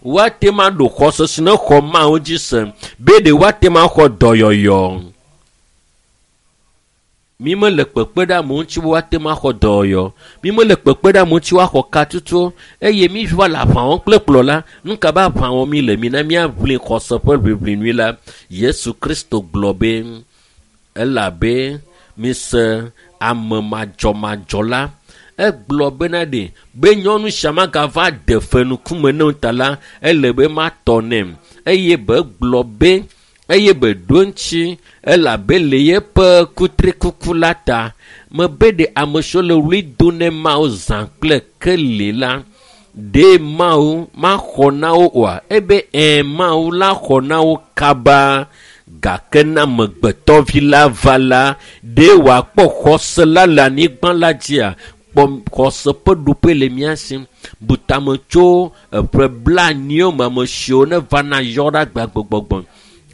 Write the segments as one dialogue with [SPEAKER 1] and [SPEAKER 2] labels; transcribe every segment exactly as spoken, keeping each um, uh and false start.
[SPEAKER 1] Woate ma ɖo xɔse si ne xɔ Mawu dzi se be ɖe woate ma xɔ dɔyɔyɔ. Mi mele kpekpe ɖe amewo ŋuti be woate ma xɔ dɔyɔyɔ. Mi mele kpekpe ɖe amewo ŋuti woaxɔ katutu eye mi va le aʋa wɔm kple kplɔla. Nu ka be aʋa wɔm mi le? Mina míaʋli xɔse ƒe ʋiʋli nyui la. Yesu Kristo gblɔ be elabe mise ame madzɔmadzɔ la. Egblɔ bena ɖe be nyɔnu sia magava de fe ŋkume ne o ta la, ele be matɔ nɛ. Eye be gblɔ be eye be ɖo ŋuti elabe le yeƒe kutrikuku la ta. Mebe ɖe ame siwo le ɣli dom ne Mawu zã kple keli la, ɖe Mawu maxɔ na wo oa? Ebe ɛ̃ Mawu la xɔ na wo kaba. Gake ne amegbetɔvi la va la, ɖe wòakpɔ xɔse la le anyigba la dzia? Kpɔ xɔse ƒe ɖoƒe le mía si. Bu tame tso eƒe blaenyiwo me ame siwo ne vana yɔ ɖe agbagbɔgbɔ.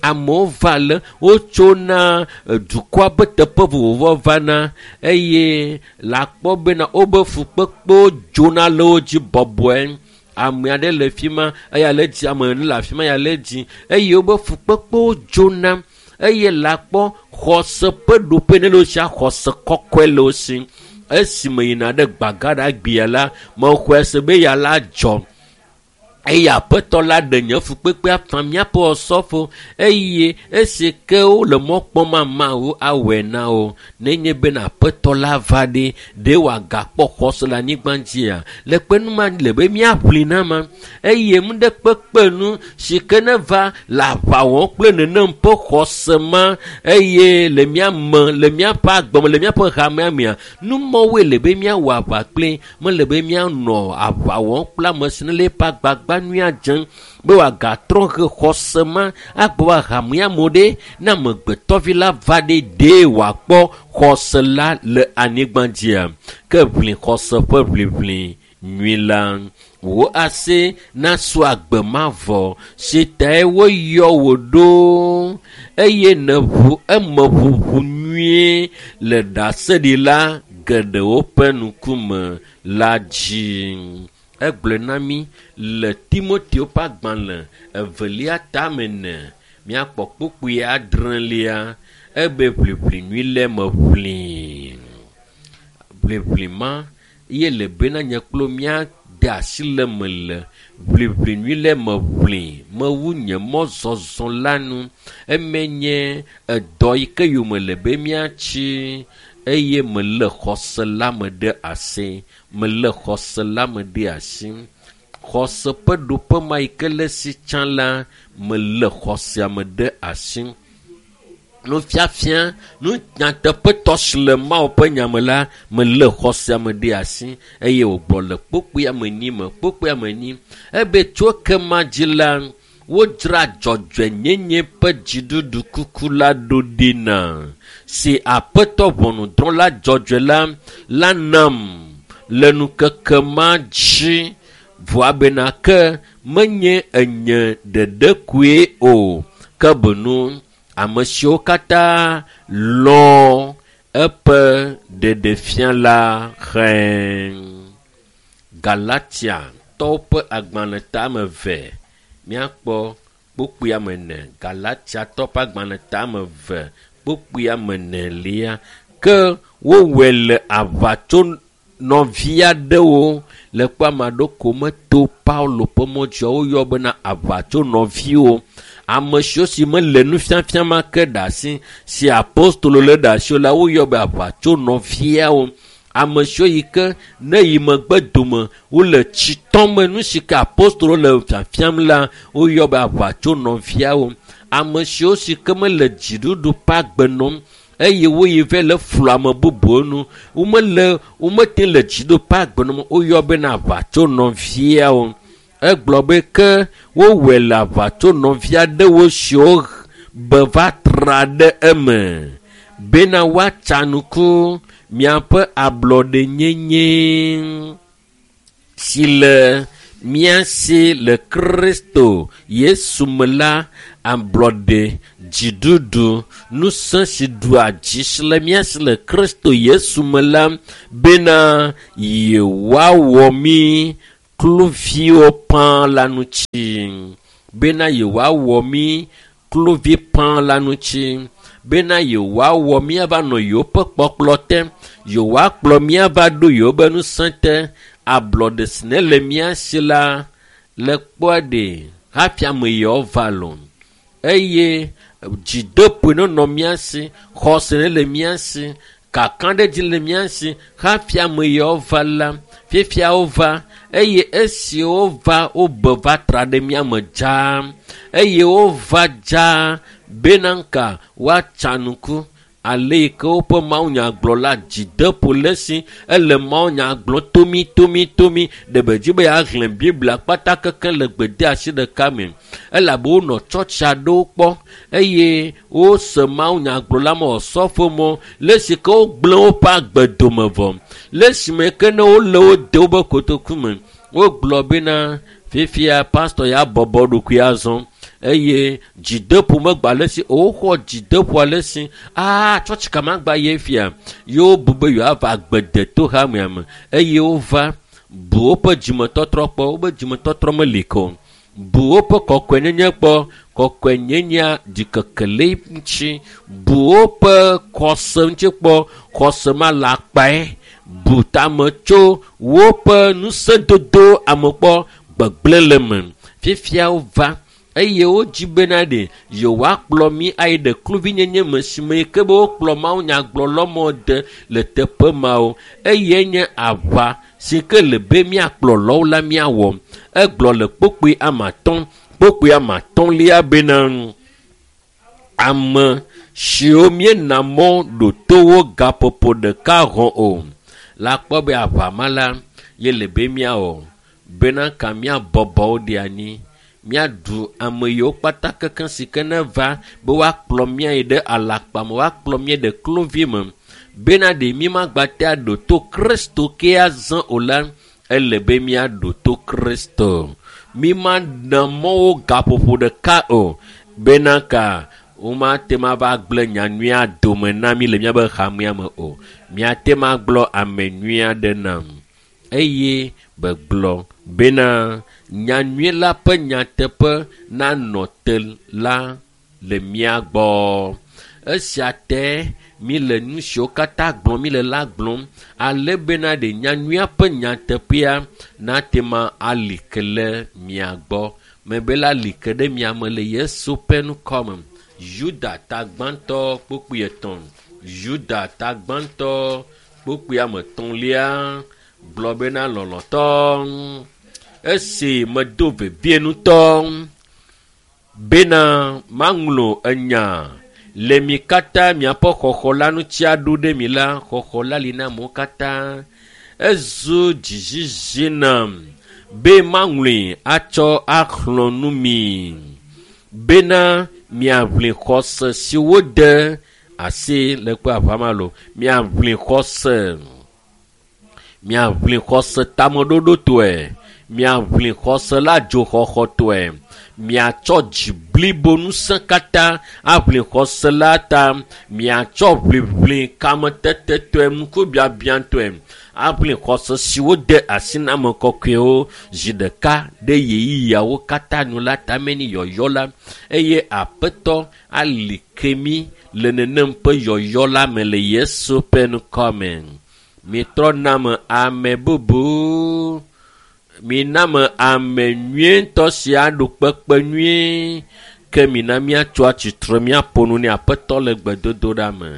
[SPEAKER 1] Amewo va le wotsona dukɔa ƒe teƒe vovovowo vana eye le akpɔ bena wobe fukpekpewo dzona le wo dzi bɔbɔe. Ame aɖe le fi ma, eya le dzi, ame ene le afi ma, eya le dzi eye wobe fukpekpewo dzona eye le akpɔ xɔse ƒe ɖoƒe ne le wo sia xɔse kɔkɔe le wo si. Esime yina ɖe Gbagaɖagbea la, mexɔe se be ya la dzɔ. Eye aƒetɔ la ɖe nye fukpekpea fã míaƒe osɔfo eye esi ke wole mɔ kpɔm Mawu awɔe na wo. Nenye bena aƒetɔ la va ɖe, ɖe wòagakpɔ xɔse le anyigba dzia? Le kpe nu ma le be míaʋli na ma. Eye nu ɖe kpekpe nu si ke ne va le aʋa wɔm kple nenem ƒe xɔse ma eye le mía me, le míaƒe agbe me, le míaƒe hamea mea, nu mɔwoe le be míawɔ aʋa kpli. Mele be míanɔ aʋa wɔm kple ame si ne le eƒe agbagba nyuia dzem be wòagatrɔ he xɔse ma agbɔ va hamea me ɖe ne amegbetɔvi la va ɖe ɖe wòakpɔ xɔse la le anyigba dzia. Ke ʋli xɔse ƒe ʋliʋli nyui la, wò asi nasu agbe mavɔ si tae woyɔ wò ɖo eye nèʋu eme ʋuʋu nyuie le ɖaseɖila geɖewo ƒe ŋkume la dzi. Egblɔe na mí le Timoteo ƒe agbalẽ evelia tame ene míakpɔ kpukpui adrelia ebe ʋliʋli nyui le me ʋli. Ʋliʋli ma ye le bena nye kple míade asi le me le ʋliʋli nyui le me ʋli mewu nye mɔzɔzɔ la nu. Eme nye edɔ yi ke yome le be míatsi eye mele xɔse la me ɖe asi. Mele xɔse la me ɖe asi. Xɔse ƒe ɖoƒe ma yi ke le si tsã la, mele xɔsea me ɖe asi. Nufiafia, nu nyateƒetɔ si le Mawu ƒe nya me la, mele xɔsea me ɖe asi eye wògblɔ le kpukpui ame enyi me, kpukpui ame enyi. Ebe tso ekema dzi la, wodzra dzɔdzɔenyenye ƒe dziɖuɖu kuku la ɖo ɖi na si Aƒetɔ ʋɔnudrɔ̃la dzɔdzɔe la la nam le ŋkeke ma dzi. Vɔa bena ke menye enye ɖeɖe koe o, ke boŋ ame siwo katã lɔ̃ eƒe ɖeɖefia la xlẽ. Galatiatɔwo ƒe agbalẽ tame eve míakpɔ kpukpui ame ene. Galatiatɔwo ƒe agbalẽ tame eve kpukpui ame enelia. Ke wowɔe le aʋatso nɔvi aɖewo le kpɔ ame aɖewo ko meto Paulo ƒe mɔ dzia woyɔ bena aʋatso nɔviwo. Ame siwo si mele nufiafia ma ke ɖe asi si apostolo le ɖe asi o la woyɔ be aʋatso nɔviawo. Ame siwo yi ke ne yi megbe dome wole tsi tɔm me nu si ke apostolo le fiafiam la woyɔ be aʋatso nɔviawo. Ame siwo si ke mele dziɖuɖu ƒe agbe nɔm eye woyi vɛ le flu ame bubuwo nu womele womete le dziɖuɖu ƒe agbe nɔm woyɔ bena aʋatso nɔviawo. Egblɔ be ke wowɔe le aʋatso nɔvi aɖewo siwo be va tra ɖe eme bena woatsa ŋku miaƒe ablɔɖenyenye si le mía si le Kristo Yesu me la, ablɔɖe, dziɖuɖu, ŋusẽ si ɖua dzi si le mía si le Kristo Yesu me la bena yewoawɔ mí Kluviwo pã la ŋuti bena yewoawɔ mí kluvi pã la ŋuti bena yewoawɔ míava nɔ yewoƒe kpɔkplɔ te, yewoakplɔ míava ɖo yewoƒe ŋusẽ te. Ablɔɖe si ne le mía si la le kpɔa ɖe hafi ame yawo va lo eye dzideƒoe nenɔ mía si, xɔse ne le mía si, kakaɖedzi le mía si hafi ame yawo va la. Fifia wova eye esi wova wobe va tra ɖe mía me dzaa eye wova dzaa bena ŋka woatsa nuku ale yi ke woƒe mawunyagblɔla dzideƒo le esi ele mawunya gblɔm tomi tomi tomi ɖe be dzi be yeaxlẽ Biblia kpata keke le gbedeasi ɖeka me elabe wonɔ tsɔtsi aɖewo kpɔ eye wose mawunyagblɔla ma wòsɔfo mɔ le esi ke wogblẽ woƒe agbe dome vɔ le esime ke ne wole wo de woƒe kotoku me wogblɔ bena fifia pastɔ ya bɔbɔ ɖokui azɔ eye dzideƒo megba le esi woxɔ dzideƒo ale si aa tsɔtsi ka magba ye fia yewo bu be yewoava agbedeto hamea me eye wova bu woƒe dzimetɔtrɔ kpɔ woƒe dzimetɔtrɔ meli ke o bu woƒe kɔkɔenyenye kpɔ kɔkɔenyenyea ɖikeke le ŋuti bu woƒe xɔse ŋuti kpɔ xɔse ma le akpae bu tame tso woƒe ŋusẽdodo ame kpɔ gbegblẽ le me fifia wova eye wodzi bena ɖe yewoakplɔ mí ayi ɖe kluvinyenye me si me ke be wokplɔ mawunyagblɔlɔmɔ de le teƒe mawo eye nye aʋa si ke le be míakplɔ lɔwo la míawɔ egblɔ le kpokpoe ame atɔ̃ kpokpoe ame atɔ̃lia bena ame siwo míena mɔ ɖo to wo gaƒoƒo ɖeka hɔ̃ o la kpɔ be aʋa ma la ye le be míawɔ bena ka míabɔbɔ wo ɖe anyi míaɖu ame yiwo kpata kekeŋ si ke ne va be woakplɔ mía yi ɖe alakpa me woakplɔ mía ɖe kluvi me bena ɖe mí magba te aɖo to Kristo ke azã o la ele be míaɖo to Kristo mí mana mɔwo gaƒoƒo ɖeka o bena ka womate ma va gblẽ nyanyuia dome na mí le míaƒe hamea me o míate ma gblɔ ame nyui aɖe nam eye begblɔ bena nyanyui la ƒe nyateƒe nanɔ te la le mía gbɔ. Esia te mi le nu siwo katã gblɔm mi le la gblɔm ale bena ɖe nyanyuia ƒe nyateƒea nate ma ali ke le mia gbɔ. Mebe la li ke ɖe mia me le Yesu ƒe ŋkɔ me. Yuda ta gbãtɔ kpukpui etɔ̃. Yuda ta gbãtɔ kpukpui ame etɔ̃lia gblɔ bena lɔlɔ̃tɔ esi medo vevie ŋutɔ bena maŋlɔ enya le mi katã miaƒe xɔxɔ la ŋuti aɖo ɖe mi la xɔxɔ la li na amewo katã ezu dzizizi nam be maŋlɔe atsɔ axlɔ̃ nu mi bena miaʋli xɔse si wode asi le kpe aʋa lo miaʋli xɔse miaʋli xɔse tameɖoɖotɔe miaʋli xɔse la dzoxɔxɔtɔe miatsɔ dzi blibo ŋusẽ katã aʋli xɔse la ta miatsɔ ʋliʋli kametetetɔe ŋkubiabiatɔe aʋli xɔse si wode asi na ame kɔkɔewo zi ɖeka ɖe ɣeyiɣiawo katã nu la tame ni yɔyɔ la eye aƒetɔ ali ke mí le nenem ƒe yɔyɔ la me le Yesu ƒe ŋkɔ me. Mitrɔ name ame bubu mina me ame nyuietɔ si aɖo kpekpe nyuie ke mina míatso atsitre míaƒo nu ne aƒetɔ le gbedodoɖa me.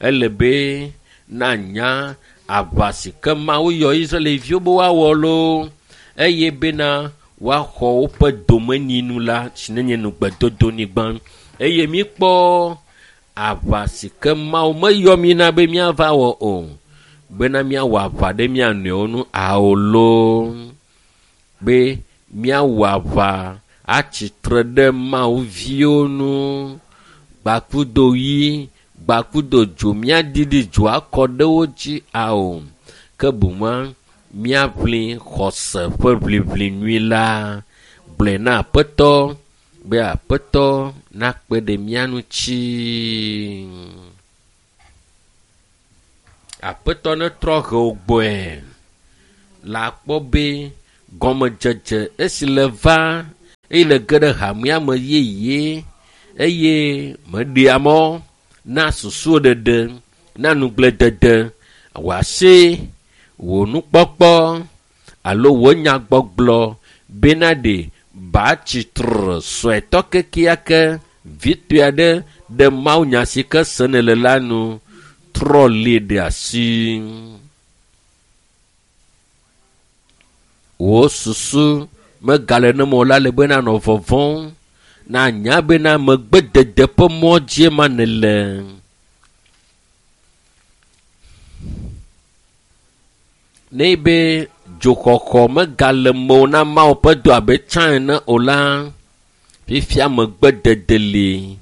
[SPEAKER 1] Ele be nanya aʋa si ke Mawu yɔ Israelviwo be woawɔ loo eye bena woaxɔ woƒe domenyinu la si nenye nugbedodonyigba eye míkpɔ aʋa si ke Mawu meyɔ mí na be míava wɔ o bena míawɔ aʋa ɖe mía nɔewo ŋu ao loo be míawɔ aʋa atsitre ɖe Mawu viwo ŋu gbakudo ɣi gbakudo dzo míaɖiɖi dzo akɔ ɖe wo dzi ao ke boŋua míaʋli xɔse ƒe ʋliʋli nyui la gblɔe na aƒetɔ be aƒetɔ nakpe ɖe mía ŋuti. Aƒetɔ netrɔ he wò gbɔe la kpɔ be Gɔmedzedze esi le va eye le ge ɖe hamea me yeye eye meɖea mɔ na susuwo ɖeɖe, na nugbledede, wò asi, wò nukpɔkpɔ alo wò nyagbɔgblɔ bena ɖe batsitre suetɔ kekeake vitɔe aɖe ɖe mawunya si ke sene le la nu trɔ li ɖe asi. Wò susu megale ne me o la le bena nɔ vɔvɔ̃m na nya bena megbedede ƒe mɔ dzie ma nele. Ne be dzoxɔxɔ megale mewò na Mawu ƒe dɔ abe tsã ene o la, fifia megbedede li.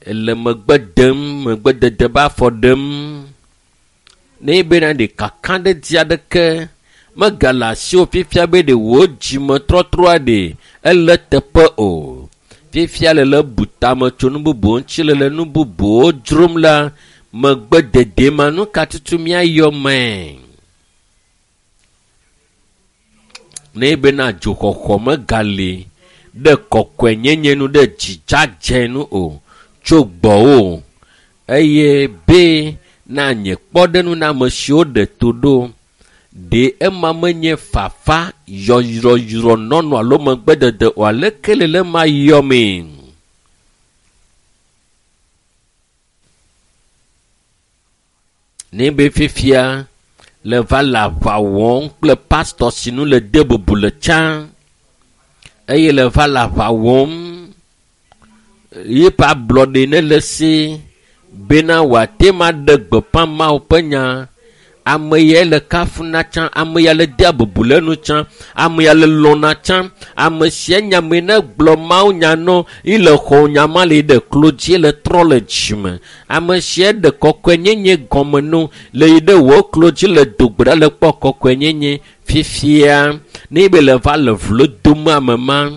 [SPEAKER 1] Ele megbe dem, megbedede be afɔ ɖem. Ne bena ɖe kakaɖedzi aɖeke megale asiwò fifia be ɖe wò dzimetrɔtrɔa ɖe ele teƒe o. Fifia le le bu tame tso nu bubuwo ŋuti le le nu bubuwo dzrom la, megbedede ma nu ka tutu míayɔ mee. Ne bena dzoxɔxɔ megali ɖe kɔkɔenyenye nu ɖe dzidzadze nu o tso gbɔwò eye be na nye kpɔɖeŋu na ame siwo ɖe to ɖo ɖe ema menye fafa yɔyrɔyrɔ nɔnɔ alo megbedede o aleke le le ma yɔ mee. Ne be fifia le va le aʋa wɔm kple pastɔ si nu le de bubu le tsã eye le va le aʋa wɔm yeƒe ablɔɖe ne le si bena wòate ma ɖe gbeƒã Mawu ƒe nya. Ame ya le kafuna tsã, ame ya le dea bubu le nu tsã, ame ya le lɔ̃na tsã, ame sia nya me ne gblɔ Mawu nya nɔ yi le xɔ nya ma le ɖe klo dzi le trɔ le dzime. Ame sia ɖe kɔkɔenyenye gɔme no le yi ɖe wò klo dzi le do gbe ɖa le kpɔ kɔkɔenyenye fifia ne be le va le vlo dom ame ma.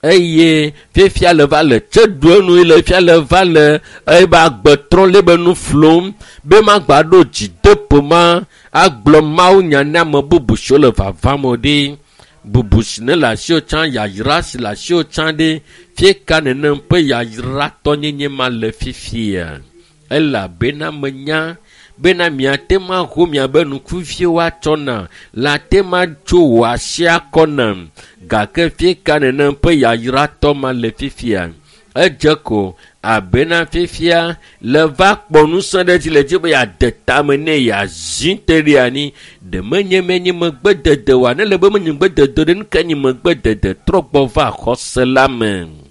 [SPEAKER 1] Eye fifia le va le tse ɖu enu le fia le va le ebe agbe trɔ le be nu flom be magba ɖo dzideƒo ma agblɔ Mawu nya na ame bubu siwo le vavam o ɖe. Bubu si ne le asiwò tsã, yayra si le asiwò tsã ɖe, fie ka nenem ƒe yayratɔnyenye ma le fifia. Elabena menya bena miate ŋu aho miabe ŋkuviwo atsɔ na, le ate ŋu atso wò asi akɔ nam. Gake fie ka nenem ƒe yayratɔ ma le fifia. Edze ko abena fifia le va kpɔ ŋusẽ ɖe dzi le dzi be yeade tame ne yeazi te ɖe anyi. Ɖe menye menye megbedede oa? Ne le be menye megbedede ɖe, nu ka nye megbedede? Trɔ gbɔ va xɔse la me.